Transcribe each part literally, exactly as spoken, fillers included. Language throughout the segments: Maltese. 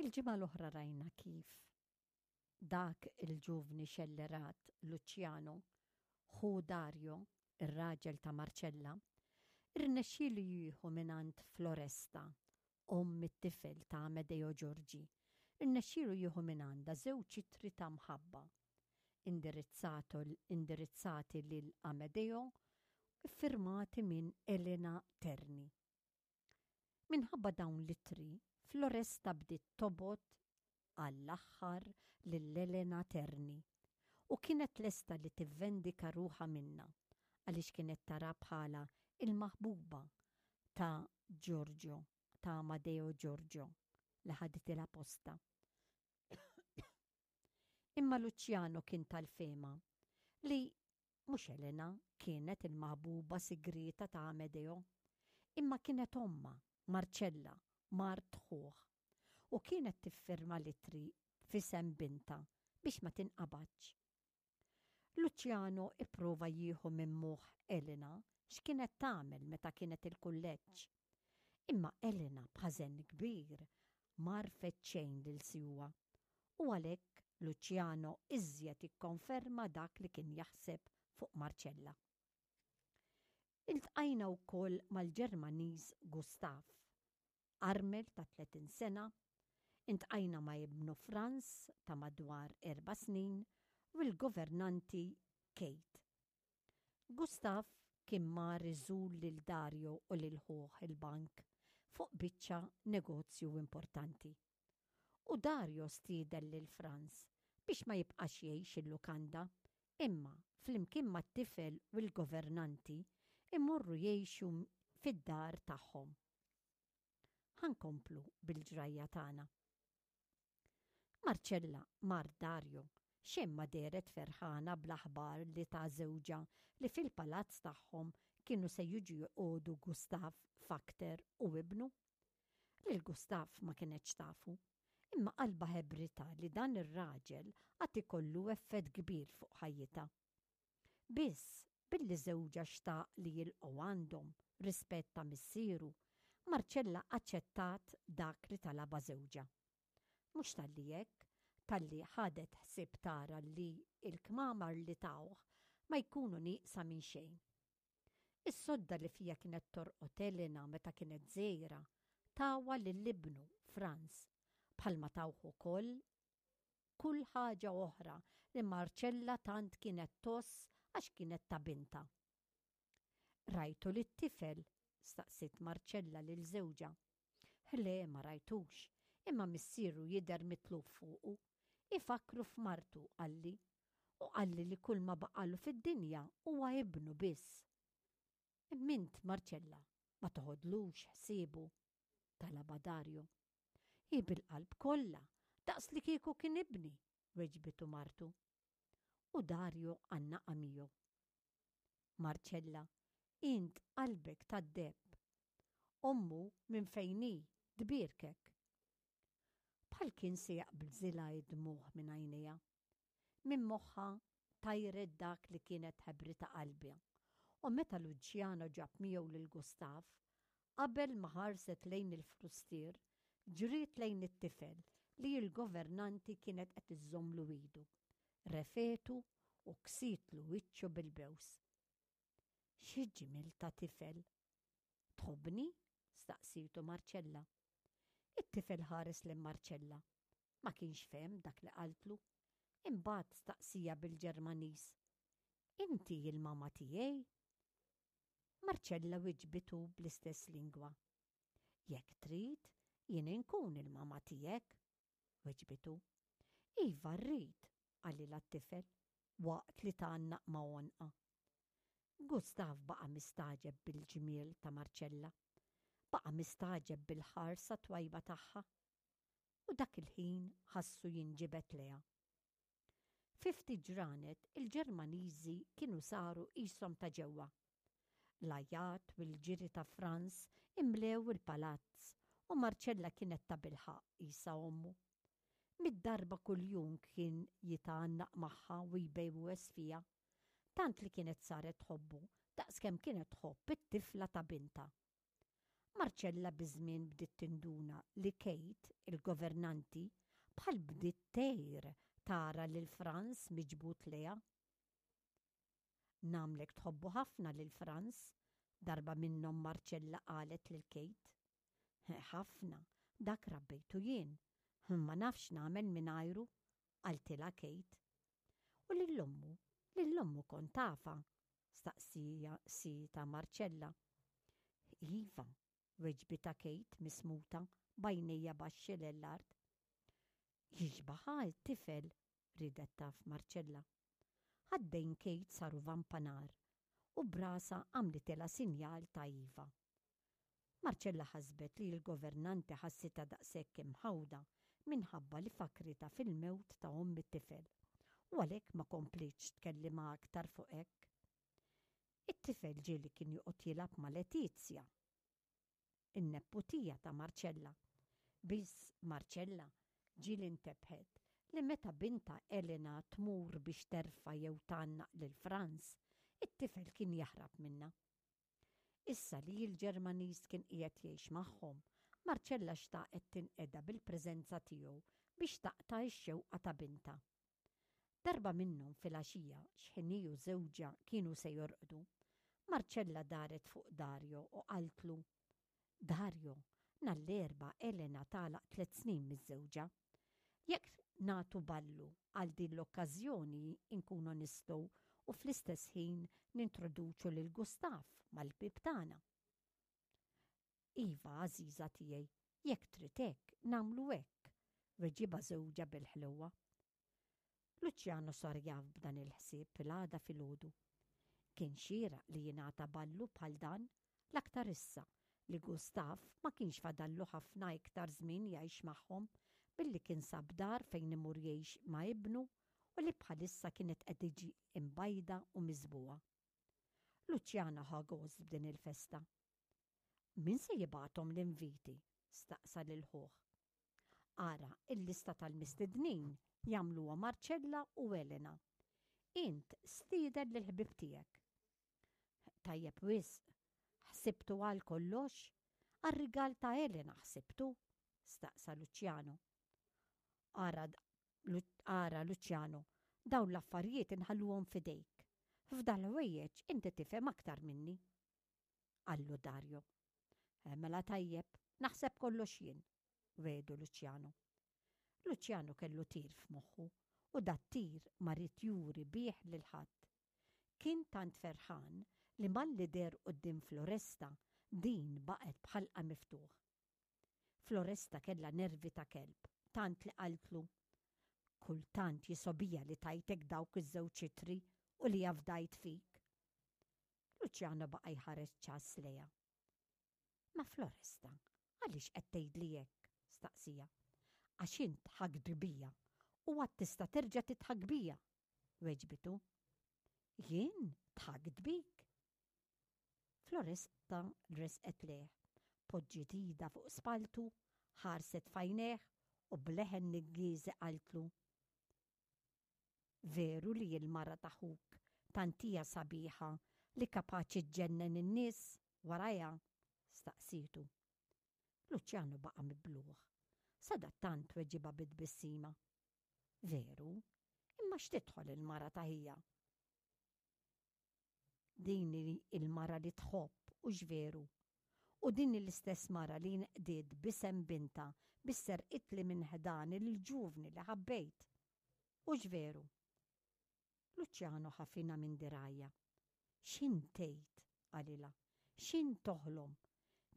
Il-ġimgħa l-oħra rajna kif dak il-ġuvni xellerat Luciano, ħu Dario, ir-raġel ta' Marcella, irnexxielu jieħu mingħand Floresta, omm it-tifel ta' Amedeo Giorgi, irnexxielu jieħu mingħandha żewġ ittri ta' mħabba indirizzati lil Amedeo, iffirmati minn Elena Terni. Minħabba dawn l-ittri, Floresta bdiet tobgħod għall-aħħar lil Elena Terni u kienet lesta li tivvendika ruħha minnha għaliex kienet tara bħala il-maħbuba ta' Giorgio, ta' Amadeo Giorgio, li ħaditilha postha. Imma Luciano kien tal-fehma li mhux Elena kienet il-maħbuba sigrieta ta' Amedeo, imma kienet ommha, Marcella, mart ħuh, u kienet tiffirma l-ittri f'isem bintha biex ma tinqabadx. Luciano ipprova jieħu minn moħħ Elena x'kienet tagħmel meta kienet il-kulleġġ. Imma Elena b'ħażen kbir m'għarfet xejn lil siwa u għalhekk Luciano iżjed ikkonferma dak li kien jaħseb fuq Marcella. Iltqajna wkoll mal-Ġermaniż Gustav, armel ta' tletin sena, iltqajna ma' ibnu Franz ta' madwar erba' snin u l-governanti Kate. Gustav kien mar iżur lil Dario u lil ħuh il-bank fuq biċċa negozju importanti. U Dario stieden lil Franz biex ma jibqax jgħix il-lukanda, imma flimkien mat-tifel u l-governanti imorru jgħixu fid-dar tagħhom. Ħa nkomplu bil-ġrajja tagħna. Marcella mart Dario xejn ma dehret ferħana bl-aħbar li ta żewġha li fil-palazz tagħhom kienu se jiġu joqogħdu Gustav Fakter u ibnu. Lil Gustav ma kienetx tafu, imma qalbha ħabbritha li dan ir-raġel għad ikollu effett kbir fuq ħajjitha. Biss, billi żewġha xtaq li jilqgħu għandhom rispett ta' missieru, Marcella aċċettat dak li talabha żewġha. Mhux talli hekk, talli ħadet ħsieb tara li il-kmamar li tawh ma jkunu nieqsa minn xejn. Is-sodda li fija kienet torqod Elena meta kienet żgħira tawha lil ibnu Franz, bħalma tawh ukoll kull ħaġa oħra li Marcella tant kienet tgħożż għax kienet ta' bintha. "Rajtu lit-tifel?" staqsiet Marcella lil żewġha. "Le, ma rajtux, imma missieru jidher mitluf fuqu. Ifakru f'martu, qalli, u qalli li kull ma baqalu fid-dinja huwa ibnu biss." "Imma int, Marcella, ma toħodlux ħsiebu?" talaba Dario. "Hi bil-qalb kollha, daqs li kieku kien ibni," weġbitu martu. U Dario għannaqha miegħu. "Marcella, int qalbek tad-deheb. Ommu minn fejn hi tbierkek." Bħal kien se jaqbżilha id-dmugħ minn għajnejha. Minn moħħha tajret dak li kienet ħabbritha qalbha. U meta Luciano ġab miegħu lil Gustav, qabel ma ħarset lejn il-frustier, ġriet lejn it-tifel li l-governanti kienet qed iżżommlu idu. Refgħetu u ksitlu wiċċu bil-bews. "Xi ġmiel ta' tifel! Tħobbni?" staqsitu Marcella. It-tifel ħares lil Marcella. Ma kienx fehem dak li qaltlu. Imbagħad staqsieha bil-Ġermaniż: "Inti il-mama tiegħi?" Marcella wiġbitu bl-istess lingwa. "Jekk trid, jien inkun il-mama tiegħek," weġbitu. "Iva rrid," qalilha t-tifel waqt li tgħannaq ma' għonqha. Gustav baqa' mistagħġeb bil-ġmiel ta' Marcella. Baqa' mistagħġeb bil-ħarsa twajba tagħha. U dak il-ħin ħassu jinġibed lejha. Fi ftit ġranet il-Ġermaniżi kienu saru qishom ta' ġewwa. L-għajat u l-ġiri ta' Franz imlew il-palazz u Marcella kienet ta' bilħaqq qisha ommu. Mitt darba kuljum kien jitgħannaq magħha u jbewwes fiha, tant li kienet saret tħobbu daqskemm kienet tħobb it-tifla ta' bintha. Marcella biż-żmien bdiet tinduna li Kate, il-governanti, bħal bdiet tgħir tara lil Franz miġbud lejha. Nagħmlek tħobbu ħafna lil Franz, darba minnhom Marcella qalet lil Kate. Ħafna, dak rabbejtu jien, ma nafx nagħmel mingħajru, qaltilha Kate. U lil ommu, lil ommu kont tafha, staqsietha Marcella. Iva, weġbitha Kate mismuta b'għajnejha baxxi l-art. Jixbaha t-tifel, ridet taf Marcella. Ħaddejn Kate saru vampa nar u b'rasha għamlitilha sinjal ta' iva. Marcella ħasbet li l-governanti ħassitha daqshekk imħawda minħabba li fakritha fil-mewt ta' omm it-tifel u għalhekk ma komplietx tkellimha aktar fuq hekk. It-tifel ġieli kien joqgħod jilgħab ma' Letizia, in-neputija ta' Marcella. Biss Marcella ġieli ntebħet li meta bintha Elena tmur biex terfa' jew tgħannaq lil Franz, it-tifel kien jaħrab minnha. Issa li l-Ġermaniż kien qiegħed jgħix magħhom, Marcella xtaqet tinqeda bil-preżenza tiegħu biex taqta' x-xewqa ta' bintha. Darba minnhom filgħaxija x'ħin hi u żewġha kienu se jorqdu, Marcella daret fuq Dario u qaltlu: Dario, nhar l-Erbgħa Elena tagħlaq tliet snin miżżewġa. Jekk nagħtu ballu għal din l-okkażjoni nkunu nistgħu u fl-istess ħin nintroduċu lil Gustav mal-bieb tagħna. Iva, għażiża tiegħi, jekk trid hekk, nagħmlu hekk, weġibha żewġha bil-ħlewwa. Luciano sar jaf b'dan il-ħsieb l-għada filgħodu. Kien xieraq li jingħata ballu bħal dan l-aktar issa li Gustav ma kienx fadallu ħafna iktar żmien jgħix magħhom billi kien sab dar fejn imur jgħix ma' ibnu u li bħalissa kienet qed tiġi imbajda u miżbugħa. Luciano ħa gost b'din il-festa. Min se jibgħathom l-inviti? Staqsa lil ħuh. Ara, il-lista tal-mistednin jagħmluha Marcella u Elena. Int stieden lill-ħbieb tiegħek. Tajjeb wisq, ħsibtu għal kollox? Għar-rigal ta' Elena ħsibtu? Staqsa Luciano. Ara, ara Luciano, dawn l-affarijiet inħalluhom f'idejk. F'dal-ħwejjeġ inti tifhem aktar minni. Qallu Dario. Mela tajjeb, naħseb kollox jien, wiegħdu Luciano. Luciano kellu tir f'moħħu u dat-tir ma ried juri bih lil ħadd. Kien tant ferħan li malli deher quddiem Floresta din baqgħet b'ħalqha miftuħ. Floresta kellha nervi ta' kelb, tant li qaltlu: Kultant jisgħobija li tajtek dawk iż-żewġ ittri u li afdajt fik. Luciano baqa' jħares ċass lejha. Ma Floresta, għaliex qed tgħidli hekk? Staqsiha. Għax int dħakt bija u għad tista' terġa' tidħak bija, weġbitu. Jien dħakt bik? Floresta resqet lejh, poġġiet idha fuq spalltu, ħarset f'għajnejh u b'leħen niggieżi qaltlu: Veru li l-mara ta' ħuk tant hija sabiħa li kapaċi ġġennen in-nies warajha? Staqsietu. Luciano baqa' mibluh. Sadattant weġibha bit-tbissima. Veru, imma x'tidħol il-mara ta' ħija? Din il-mara li tħobb u veru. U din l-istess mara li nqdiet b'isem bintha biex serqitli minn ħdani l-ġuvni li ħabbejt. U veru. Luciano ħafinha minn dirgħajha. X'int tgħid, qalilha, x'int toħlom?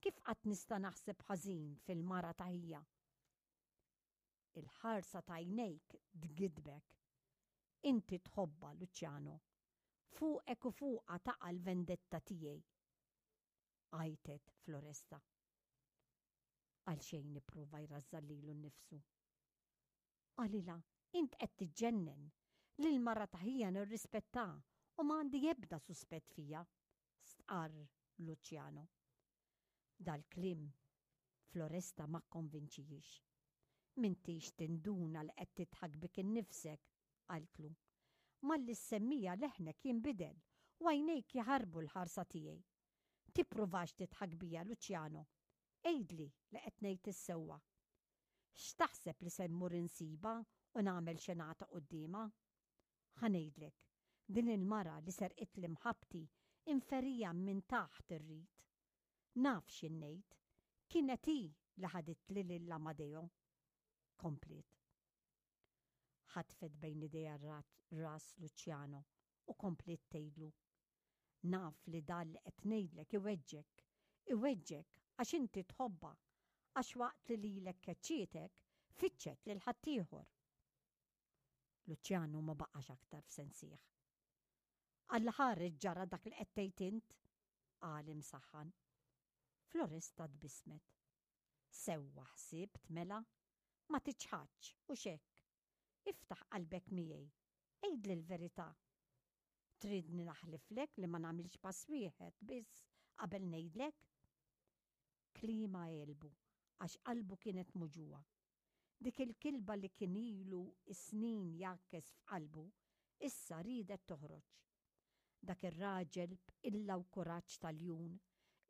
Kif qatt nista' naħseb ħażin fil-mara ta' ħija? Il-ħarsa ta' għajnejk tgidbek. Inti tħobbha, Luciano. Fuqek u fuqha taqa' l-vendetta tiegħi. Għajtet Floresta. Għalxejn ipprova jrażżan lilu nnifsu. Qalilha, int qed tiġġennen. Lil mara ta' ħija nirrispetta u m'għandi ebda suspett fija, stqarr Luciano. Dal-kliem Floresta ma kkonvinċihiex. M'intix tinduna li qed tidħak bik innifsek, qaltlu. Malli ssemmiha leħnek jinbidel u għajnejk jaħarbu l-ħarsa tiegħi. Tippruvax tidħak bija, Luciano. Għidli li qed ngħid is-sewwa. X'taħseb li se mmur insibha u nagħmel xenata quddiemha? Ħa ngħidlek, din il-mara li serqitli mħabbti inferija minn taħt irrid. Naf x'in ngħid, kienet hi li ħaditli lil Amadeo. Kompliet. Ħatfet bejn idejha ras Luciano u kompliet tgħidlu. Naf li dan li qed ngħidlek iweġġek, iweġġek għax inti tħobbha, għax waqt li lilek keċċietek, fittxet lil ħaddieħor. Luciano ma baqax aktar f'sensih. Alla ħares ġara dak li qed tgħid int, qal imsaħħan. Floresta tbissmet. Sewwa ħsibt mela, ma tiċħadx hux hekk. Iftaħ qalbek miegħi, għidli l-verità. Tridni naħliflek li ma nagħmilx pass wieħed biss qabel ngħidlek? Kliemha għelbu għax qalbu kienet muġugħa. Dik il-kilba li kien ilu snin jgħakkes f'qalbu issa riedet toħroġ. Dak ir-raġel b'qilla u kuraġġ tal-ljun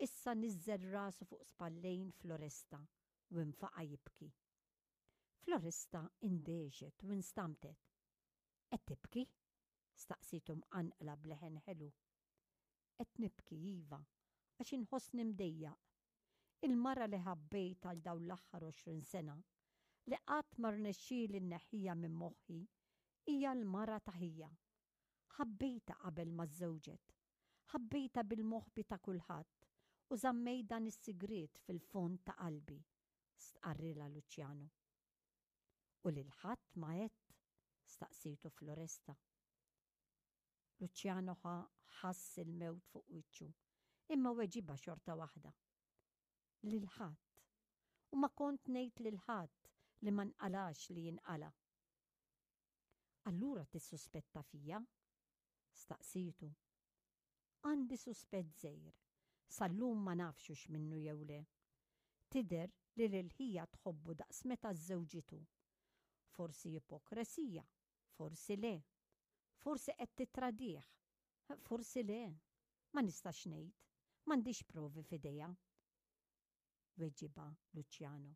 issa niżżel rasu fuq spallejn Floresta u nfaqa' jibki. Floresta indehxet u instamtet. Qed tibki? Staqsietu mqanqla b'leħen ħelu. Qed nibki, iva, għax inħossni mdejjaq. Il-mara li ħabbejt għal dawn l-aħħar għoxrin sena, li qatt ma rnexxieli nneħħiha minn moħħi, hija l-mara ta' ħija. Ħabbejtha qabel ma żżewġet. Ħabbejtha bil-moħbi ta' kulħadd u żammejt dan is-sigriet fil-fond ta' qalbi, stqarrilha Luciano. U lil ħadd ma għedt? Staqsietu Floresta. Luciano ħass il-mewt fuq wiċċu, imma weġibha xorta waħda. Lil ħadd. U ma kont ngħid lil ħadd li ma nqalax li jinqala. Allura tissuspetta fija? Staqsietu. Għandi suspett żgħir, sal-lum ma nafx hux minnu jew le. Tidher li lil ħija tħobbu daqs meta żżewġitu. Forsi ipokresija, forsi le. Forsi qed titradih, forsi le. Ma nistax ngħid, m'għandix provi f'idejja. Weġibha Luciano.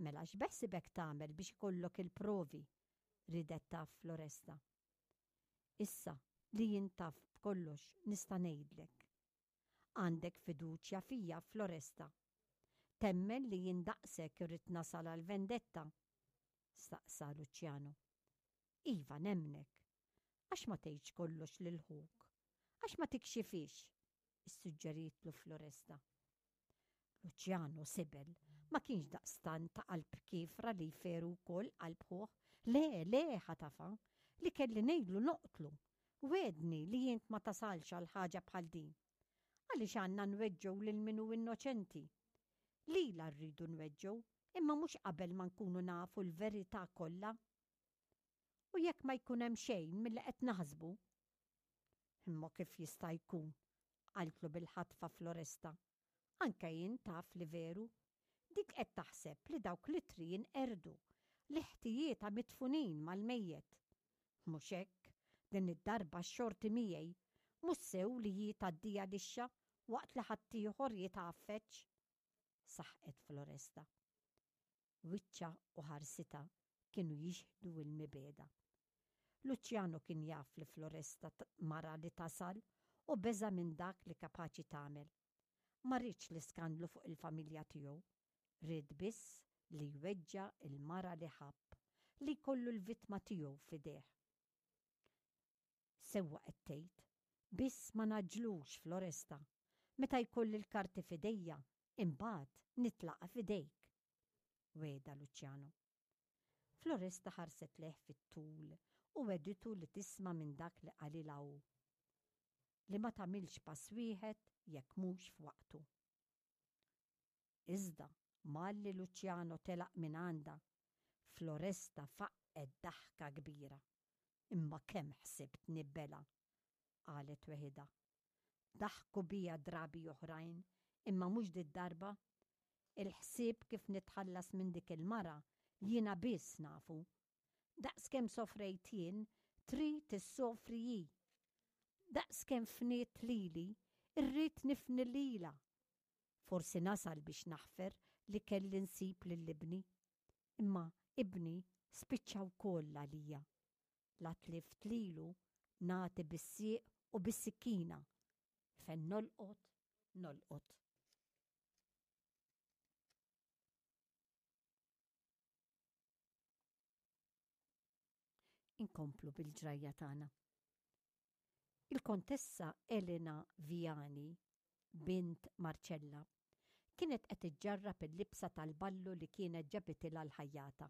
Mela x'beħsibek tagħmel biex ikollok il-provi? Ridet taf Floresta. Issa li jien taf b'kollox nista' ngħidlek. Għandek fiduċja fija, Floresta. Temmen li jien daqshekk irrid nasal għal vendetta? Staqsa Luciano. Iva, nemmnek. Għax ma tgħidx kollox lil ħuk? Għax ma tikxifix? Issuġġeritlu Floresta. Luciano sibel, ma kienx daqstant ta' qalb kiefra li jferu wkoll qalb ħuh. Le, le, ħatafa, li kelli ngħidlu noqtlu. Wegħedni li int ma tasalx għal ħaġa bħal din. Għaliex għandna nweġġgħu lil min hu innoċenti? Lilha rridu nweġġgħu, imma mhux qabel ma nkunu nafu l-verità kollha. U jekk ma jkun hemm xejn milli qed naħsbu? Imma kif jista' jkun? Qaltlu bil-ħatfa Floresta. Anke jien taf li veru. Dik qed taħseb li dawk l-ittri jinqerdu, li ħtijietha midfunin mal-mejjet. Mhux hekk, din id-darba x-xorti miegħi, mhux sew li hi tgħaddiha lixxa waqt li ħaddieħor jitgħaffeġ. Saħqet Floresta. Wiċċha u ħarsitha kienu jixhdu l-mibegħda. Luciano kien jaf li Floresta mara li tasal u beża' minn dak li kapaċi tagħmel. Ma riedx l-iskandlu fuq il-familja tiegħu. Ried biss li jweġġa' l-mara li ħabb, li jkollu l-vittma tiegħu f'idejh. Sewwa qed tgħid, biss ma ngħaġġlux Floresta. Meta jkolli l-karti f'idejja, imbagħad nitlaqa' f'idejk. Wegħda Luciano. Floresta ħarset lejh fit-tul u wegħditu li tisma' minn dak li qalilha hu. Li ma tagħmilx pass wieħed jekk mhux f'waqtu. Iżda malli Luciano telaq minn għandha, Floresta faqqgħet daħka kbira. Imma kemm ħsibtni bela, qalet weħidha. Daħku bija drabi oħrajn, imma mhux did-darba. Il-ħsieb kif nitħallas minn dik il-mara jiena biss nafu. Daqskemm sofrejt jien, trid issofri hi. Daqskemm fniet lili, irrid nifni lilha. Forsi nasal biex naħfer li kelli nsib lil ibni. Imma ibni spiċċa wkoll għalija. La tlift lilu nagħti bis-sieq u bis-sikkina. Fejn nolqot, nolqot. Inkomplu bil-ġrajja tagħna. Il-Kontessa Elena Viani, bint Marcella, kienet qed iġġarrab il-libsa tal-ballu li kienet ġabitilha l-ħajjata.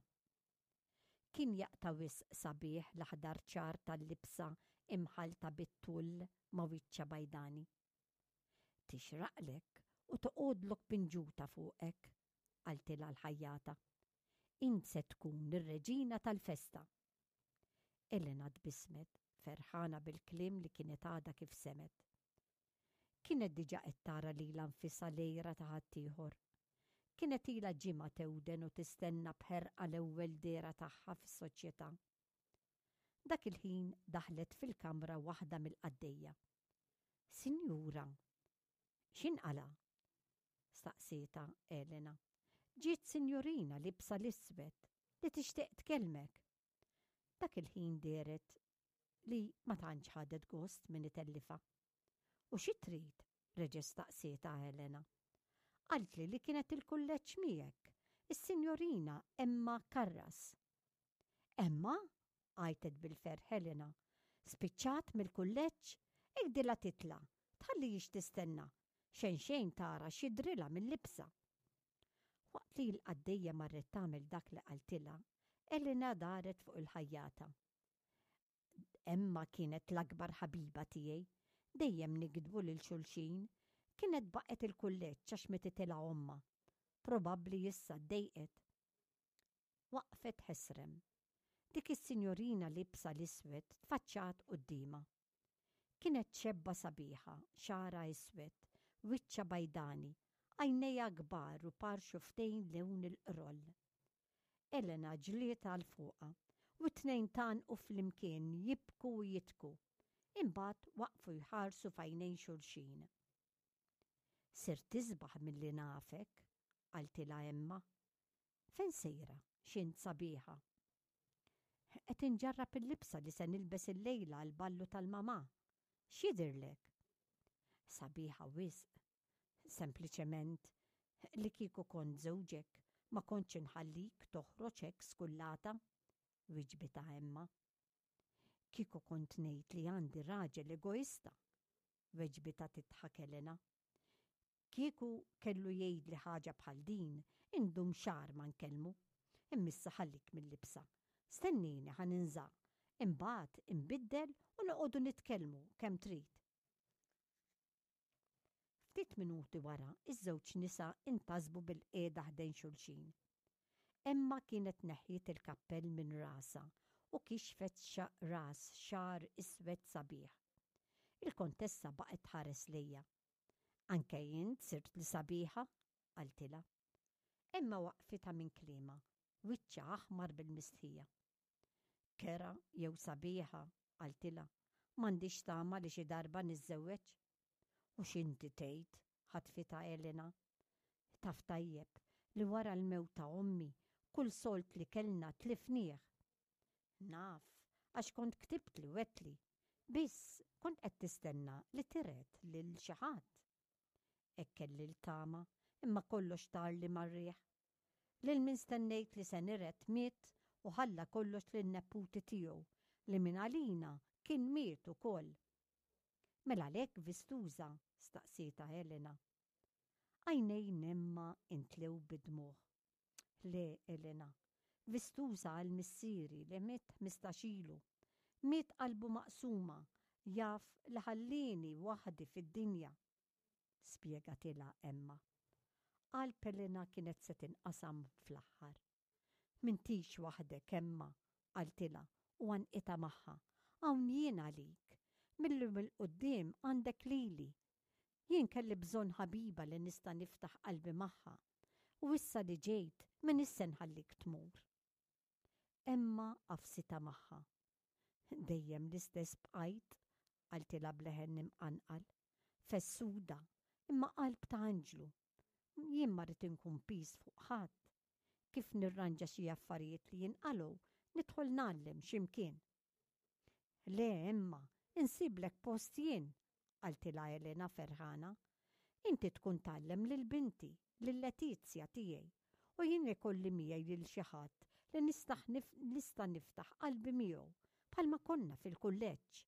Kien jaqta' wisq sabiħ l-aħdar ċar tal-libsa imħallta bit-tull ma' wiċċha bajdani. Tixraqlek u toqgħodlok pinġuta fuqek, qaltilha l-ħajjata. Int se tkun ir-reġina tal-festa. Elena tbissmet, ferħana bil-kliem li kienet għadha kif semgħet. Kienet diġà qed tara lilha nfisha l-għira ta' ħaddieħor. Kienet ilha ġimgħa tewden u tistenna b'ħerqa l-ewwel dehra tagħha fis-soċjetà. Dak il-ħin daħlet fil-kamra waħda mill-qaddejja. Sinjura, x'inqala'? staqsietha Elena. Ġiet sinjurina liebsa l-iswed li tixtieq tkellmek. Dak il-ħin dehret li ma tantx ħadet gost min itellifha. U xi trid? reġgħet staqsietha Elena. Qaltli li kienet il-kulleġġ miegħek, is-sinjorina Emma Karras. Emma? għajtet bil-ferħ Elena. Spiċċat mill-kulleġġ? Għidilha titla', tħallihiex tistenna. Xejn xejn tara x'jidhrilha mil-libsa. Waqt li l-qaddejja marret tagħmel dak li qaltilha, Elena daret fuq il-ħajjata. Emma kienet l-akbar ħabiba tiegħi. Dejjem nikdbu lil xulxin. Kienet baqgħet il-kulleġġ għax mititilha ommha. Probabbli issa ddejqet. Waqfet ħesrem. Dik is-sinjorina liebsa l-iswed tfaċċat quddiemha. Kienet xebba sabiħa, xagħarha iswed, wiċċha bajdani, għajnejha kbar u par xufftejn lewn il-qroll. Elena ġliet għal fuqha u t-tnejn tgħannqu flimkien jibku u jidhku. Imbagħad waqfu jħarsu f'għajnejn xulxin. Sirt isbaħ milli nafek, qaltilha Emma. Fejn sejra, x'int sabiħa? Qed inġarrab il-libsa li se nilbes illejla għall-ballu tal-mamà. X'jidhirlek? Sabiħa wisq. Sempliċement, li kieku kont żewġek, ma kontx inħallik toħroġ hekk skullata, wiġbitha Emma. Kieku kont ngħid li għandi raġel egoista, weġbitha tidħak Elena. Kieku kellu jgħidli ħaġa bħal din, indum xahar ma nkellmu. Imma issa ħallik mil-libsa. Stennini ħa ninża', imbagħad inbiddel u noqogħdu nitkellmu kemm trid. Ftit minuti wara, iż-żewġ nisa intasbu bilqiegħda ħdejn xulxin. Emma kienet neħħiet il-kappell minn rasha u kixfet ras xagħar iswed sabiħ. Il-kontessa baqgħet tħares lejha. Anke int sirt li sabiħa, qaltilha. Emma waqfitha minn kliemha, wiċċha aħmar bil-mistħija. Kerha jew sabiħa, qaltilha, m'għandix tama li xi darba niżżewweġ. U x'inti tgħid, ħatfitha Elena. Taf tajjeb li wara l-mewt ta' ommi kull sold li kellna tlifnieh. Naf, għax kont ktibtli u għedtli. Biss kont qed tistenna li tiret lil xi ħadd. Hekk kelli l-tama, imma kollox tarli mar-riħ. Lil min stennejt li se niret miet u ħalla kollox lin-neputi tiegħu li minn għalina kien miet ukoll. Mela għalhekk vistuża? staqsietha Elena. Għajnejn Emma intlew bid-dmugħ. Le, Elena, vistuża għal missieri li miet ħmistax ilu. Miet qalbu maqsuma, jaf li ħallieni waħdi fid-dinja. Spjegatilha Emma. Qalb Elena kienet se tinqasam fl-aħħar. M'intix waħdek, Emma, qaltilha u għannqitha magħha. Hawn jien għalik. Mil-lum 'il quddiem għandek lili. Jien kelli bżonn ħabiba li nista' niftaħ qalbi magħha. U issa li ġejt, m'iniex se nħallik tmur. Emma għafsitha magħha. Dejjem l-istess bqajt, qaltilha b'leħen imqanqal. Fessuda, imma qalb ta' anġlu. Jien ma rrid inkun piż fuq ħadd. Kif nirranġa xi affarijiet li jinqalgħu, nidħol ngħallem xi mkien. Le Emma, insiblek post jien, qaltilha Elena ferħana. Inti tkun tgħallem lil binti, lil Letizia tiegħi, u jien ikolli miegħi lil xi ħadd li nista' niftaħ qalbi miegħu bħalma konna fil-kulleġġ.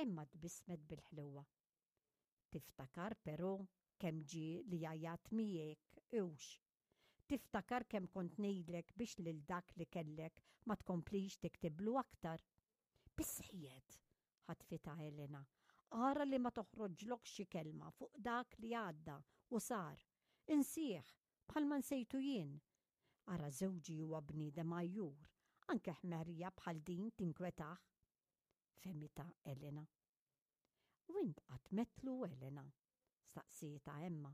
Emma tbissmet bil-ħlewa. Tiftakar però kemm ġie li għajjat miegħek hux. Tiftakar kemm kont ngħidlek biex lil dak li kellek ma tkomplix tiktiblu aktar. Biżżejjed, ħatfitha Elena. Ara li ma toħroġlok xi kelma fuq dak li għadda u sar. Insih, bħalma nsejtu jien. Ara żewġi huwa bniedem għajjur, anke ħmerija bħal din tinkwetah. Fehmitha Elena. U int qatt metlu Elena? Staqsietha Emma.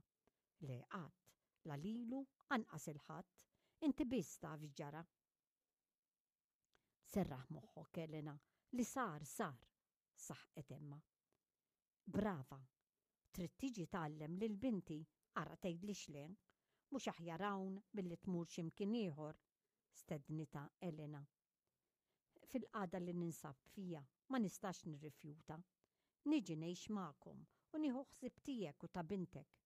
Le qatt, la lilu anqas 'il ħadd, inti biss taf x'ġara. Serraħ moħħok Elena, li sar sar, saħqet Emma. Brava, trid tiġi tgħallem lil binti, ara tgħidlix le, mhux aħjar hawn milli tmur xi mkien ieħor, stednitha Elena. Fil-qagħda li ninsab fija ma nistax nirrifjuta. Niġi ngħix magħkom u nieħu ħsieb tiegħek u ta' bintek.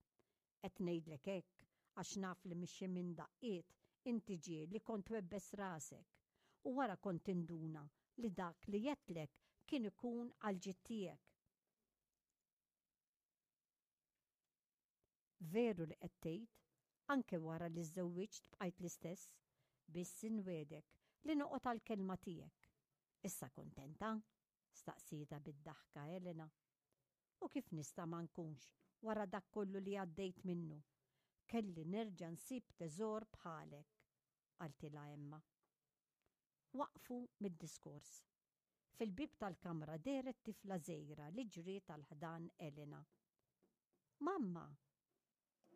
Qed ngħidlek hekk għax naf li mixi minn daqqiet inti ġie li kont webbes rasek u wara kont tinduna li dak li għedtlek kien ikun għall-ġid tiegħek. Veru li qed tgħid, anke wara li żżewwiġt bqajt l-istess, biss inwiegħdek li noqgħod għall-kelma tiegħek. Issa kuntenta? staqsietha bid-daħka Elena. U kif nista' ma nkunx wara dak kollu li għaddejt minnu? Kelli nerġa' nsib teżor bħalek, qaltilha Emma. Waqfu mid-diskors. Fil-bieb tal-kamra dehret tifla żgħira li ġriet għal ħdan Elena. Mamma!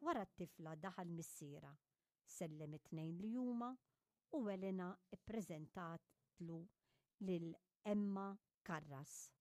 Wara t-tifla daħal missierha, sellem it-tnejn li huma u Elena ppreżentatlu lil Emma Karras.